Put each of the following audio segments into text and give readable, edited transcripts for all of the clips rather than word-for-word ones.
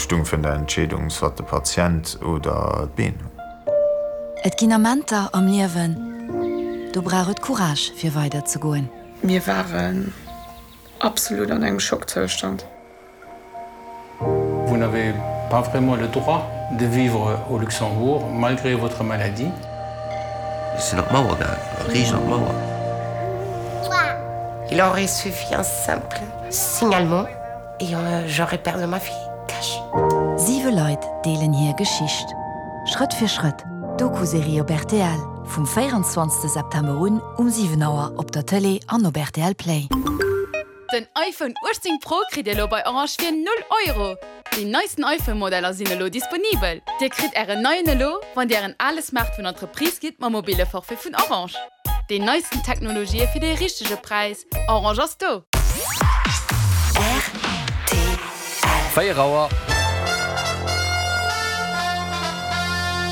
stung virun der Entscheedung, soit de Patient oder d'Been. Et ginn Amenter am Liewen, do brauch et Courage fir weider ze goen. Mir waren absolut an engem Schockzoustand. Vous n'avez pas vraiment le droit de vivre au Luxembourg malgré votre maladie. Ech sinn op d'Mauer gaang, riicht an d'Mauer. Il aurait suffi un simple signalement et j'aurais perdu ma fille, cash. Siwe Leit deelen hir Geschicht. Schrëtt fir Schrëtt, Doku-Serie op rtl, vum 24 September un um 7 Auer op der Tëlee an op rtl Play. Den iPhone 18 Pro kritt dir elo bei Orange fir 0 Euro! Déi neisten iPhone Modeller sinn elo disponibel. Dir kritt ären neien elo, wann dir ären ale Smartphone an d'Reprise gitt mam mobile Forfait vun Orange. Déi neisten Technologië fir dee richtege Präis, Orange ass do! Rtl. 4 Auer.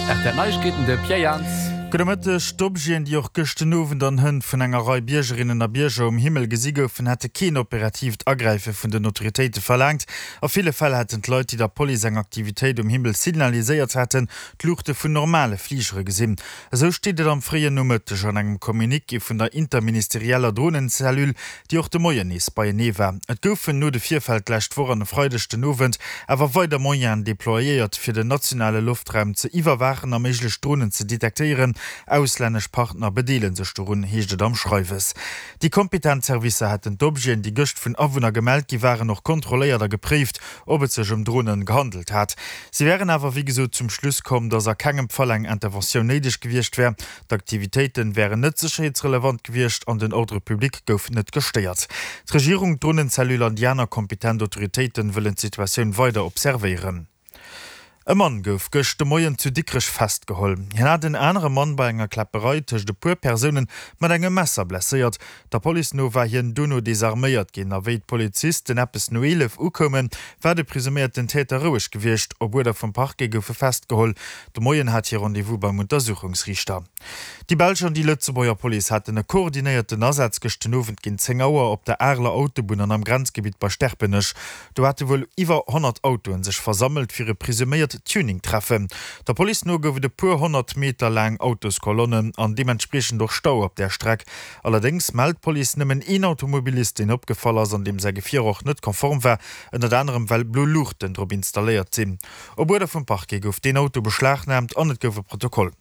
Rtl Neiegkeeten, de Pierre Jans. Gudde Mëtteg. D'Objeten, déi och gëscht den Owend an Hënt vun enger Rei Biergerinnen a Bierger um Himmel gesi goufen, hätte keen operatiivt Agräife vun den Autoritéite verlaangt. A ville Fäll hätten d'Leit, déi der Police eng Aktivitéit um Himmel signaliséiert haten, d'Luuchte vun normale Fligere gesinn. Esou steet et am fréien Nomëtteg an engem Communiqué vun der interministerieller Dronencellule, déi och de Moien nees beienee war. Et goufen no de Virfäll d'lescht Woch an e Freideg den Owend awer weider Moyenen deployéiert, fir den nationale Loftraum ze iwwerwaachen a méiglech Dronen ze detektéieren. Auslännesch Partner bedeele sech dorun, heescht et am Schreiwes. Déi kompetent Servicer hätten d'Objeten, déi gëscht vun Awunner gemellt gi waren, och kontrolléiert a gepréift, ob et sech ëm Dronen gehandelt hat. Si wären awer wéi gesot zum Schluss komm, datt a kengem Fall eng Interventioun néideg gewiescht wär. D'Aktivitéiten wären net sécherheetsrelevant gewiescht an den Ordre public gouf net gestéiert. D'Regierung, d'Dronencellule an déi aner kompetent Autoritéiten wëllen d'Situatioun weider observéieren. E Mann gouf gëscht de Moien zu Dikrech festgeholl. Hien hat en anere Mann bei enger Kläpperei tëscht e puer Persoune mat engem Messer blesséiert. Der Police no war hien dono desarméiert ginn a wéi d'Polizisten eppes no 11 ukoumen, war de presuméierten Täter roueg gewiescht. Op Uerder vum Parquet gouf e festgeholl. De Moien hat hie Rendez-vous beim Untersuchungsriichter. Déi belsch an déi Lëtzebuerger Police haten e koordinéierten Asaz gëscht den Owend géint 10 Auer op der Areler Autobunn an am Grenzgebitt bei Sterpenech. Do hate wuel iwwer 100 Autoen sech versammelt fir e presuméiert Tuning-Treffen. Der Police no gouf et e puer 100 Meter laang Autoskolonnen an deementspriechend och Stau op där Streck. Allerdéngs mellt d'Police nëmmen een Automobilist, deen opgefall ass an deem säi Gefier och net konform war, ënnert anerem well blo Luuchten drop installéiert sinn. Op Uerder vum Parquet gouf deen Auto beschlagnaamt an et gouf e Protokoll.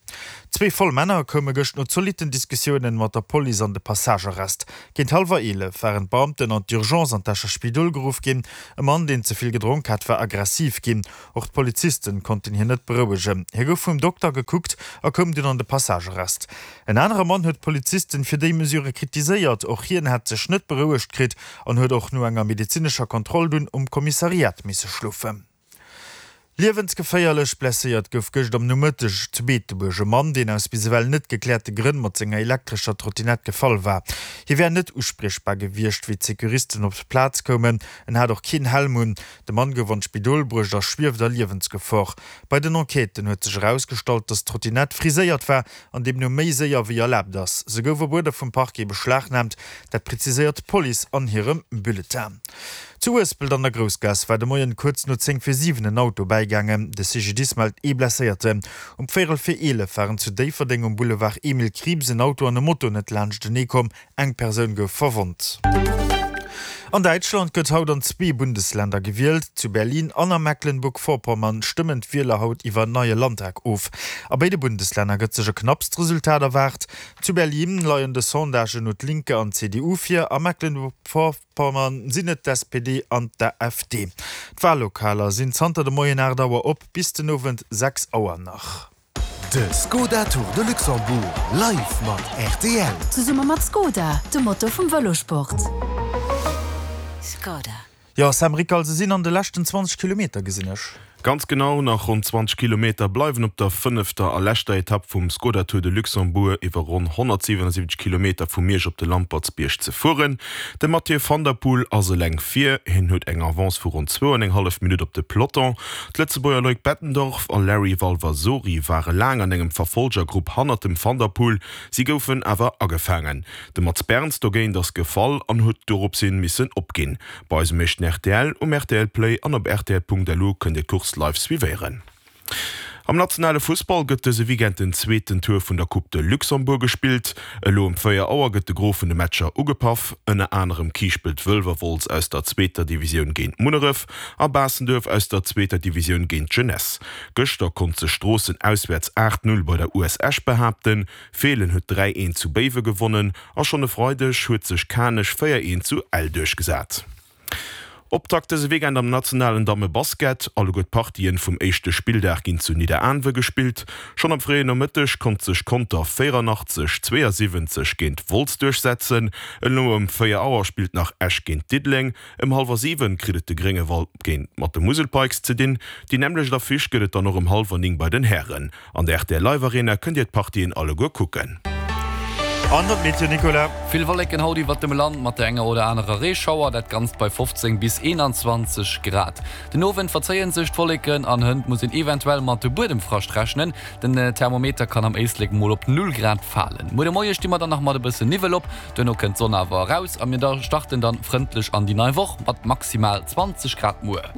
Zwee voll Männer koume gëscht no zolitten Diskussiounen mat der Police an de Passagearrest. Géint hallwer 11 waren d'Beamten an d'Urgence an d'Escher Spidol geruff ginn. E Mann, deen ze vill gedronk hat, war aggressiv ginn. Och d'Polizisten konnten hien net berouegen. Hie gouf vum Dokter gekuckt a koum dunn an de Passagearrest. En anere Mann huet d'Polizisten fir déi Mesure kritiséiert. Och hien hätt sech net berouegt kritt an huet och no enger medezinescher Kontroll dunn um Kommissariat misse schlofen. Liewensgeféierlech blesséiert gouf gëscht am Nomëtteg zu Beetebuerg e Mann, deen aus bis ewell net gekläerte Grënn mat senger elektrescher Trottinett gefall war. Hie wär net uspriechbar gewiescht, wéi d'Securisten op d'Plaz koumen. En hat och keen Helm un. De Mann gouf an d'Spidol bruecht a schwieft a Liewensgefor. Bei den Enquêten huet sech erausgestallt, datt d'Trottinett friséiert war an deemno méi séier wéi erlaabt ass. Se gouf op Uerder vum Parquet beschlagnaamt, dat präziséiert d'Police an hirem Bulletin. Zu Uespelt an der Groussgaass war de Moien kuerz no 10 vir 7 en Auto bäigaangen. De CGDIS mellt ee Blesséierten. Um véierel vir 11 waren zu Déifferdeng um Boulevard Emile Krieps en Auto an e Moto net laanschtenee komm. Eng Persoun gouf verwonnt. An Däitschland gëtt haut an zwee Bundesländer gewielt. Zu Berlin an a Mecklenburg-Vorpommern stëmmen d'Wieler haut iwwer en neie Landtag of. A béide Bundeslänner gëtt sech e knappst Resultat erwaart. Zu Berlin leien de Sondagen no d'Linke an d'CDU vir, a Mecklenburg-Vorpommern Pommern sinn et d'SPD an d'AfD. D'Wallokaler sinn zanter de Moien 8 Auer op, bis den Owend 6 Auer nach. De Skoda Tour de Luxembourg live mat rtl. Zesumme mat Skoda, de Motor vum Vëlosport. Skoda. Jo, Sam Rickal, se sinn an de leschten 20 Kilometer, gesinn ech. Ganz genau nach ronn 20 Kilometer bleiwen op der fënnefter a leschter Etapp vum Skoda Tour de Luxembourg iwwer ronn 177 Kilometer vu Miersch op de Lampertsbierg ze fueren. De Mathieu van der Poel ass eleng vir, hien huet eng Avance vu ronn zwou an eng hallef Minutt op de Peloton. D'Lëtzebuerger Loïc Bettendorf a Larry Valvasori ware laang an engem Verfolgergrupp hannert dem Van der Poel, si goufen awer agefaangen. De Mats Berns dogéint ass gefall an huet doropshin missen opginn. Bei eisem éischten rtl, um rtl Play an op rtl.lu kënnt Dir d'Course live suivéieren. Am nationale Fussball gëtt dëse Weekend den zweeten Tour vun der Coupe de Luxembourg gespillt. Elo ëm 4 Auer gëtt de Gros vun de Matcher ugepaff. Ënner anerem Kiischpelt-Wëlwerwolz aus der zweeter Divisioun géint Munneref a Baastenduerf aus der zweeter Divisioun géint d'Jeunesse. Gëschter konnt sech Stroossen auswäerts 8, 0 bei der US Esch behaapten. Feelen huet 3, 1 zu Béiwe gewonnen a schonn e Freideg huet sech Kanech 4, 1 zu Ell duerchgesat. Optakt dëse Weekend am nationalen Damme-Basket. Alleguer d'Partien vum éischte Spilldag ginn zu Nidderaanwe gespillt. Schonn am fréien Nomëtteg konnt sech Conter 84, 72 géint Wolz duerchsetzen. Elo ëm 4 Auer spillt nach Esch géint Diddeleng. Ëm hallwer 7 kritt et de Gréngewald géint mat de Musel Pikes ze dinn. Déi nämmlecht Affiche gëtt et dann och ëm hallwer 9 bei den Hären. An der rtl Live Arena kënnt Dir d'Partien alleguer kucken. An der Meteo, Nicolas. Vill Wolleken haut iwwert dem Land mat der enger oder anerer Reeschauer, dat Ganzt bei 15 bis 21 Grad. Den Owend verzéien sech d'Wolleken an hënt muss een eventuell mat Buedemfrascht rechnen. Den Thermometer kann am Éislek mol op 0 Grad falen. Muer de Moie sti mer dann nach mat e bësse Niwwel op, duerno kënnt d'Sonn awer eraus a mir starten dann frëndlech an déi nei Woch mat maximal 20 Grad muer.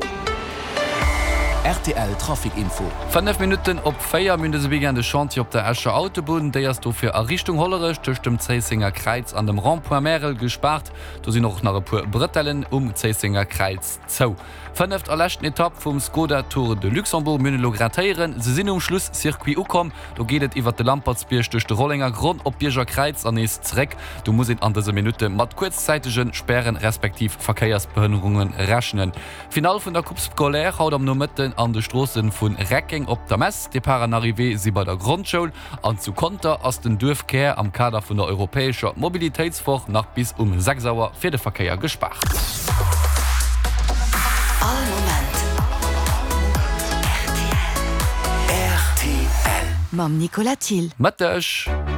Rtl Trafic Info. 5 Minutten op 4, Mir hunn dëse Weekend e Chantier op der Escher Autobunn. Déi ass dofir a Richtung Hollerech tëscht dem Zéissenger Kräiz an dem Rond-point Märel gespaart. Do sinn och nach e puer Brëtellen um Zéissenger Kräiz zou. Fënneft a leschten Etapp vum Skoda Tour de Luxembourg. Mir hunn elo grad héieren, se sinn um Schlusscircuit ukomm. Do geet et iwwert de Lampertsbierg duerch de Rollenger Gronn op d'Bierger Kräiz an nees zeréck. Do muss een an dëse Minutte mat kuerzzäitege Spären respektiv Verkéiersbehënnerunge rechnen. Finall vun der Coupe scolaire haut am Nomëtten an de Stroosse vu Reckeng op der Mess. Depart an Arrivée si bei der Grondschoul an zu Conter ass den Duerfkär am Kader vun der europäescher Mobilitéitswoch nach bis um 6 Auer fir de Verkéier gespaart. All Moment rtl. Mam Nicolas Thill. Mëtteg.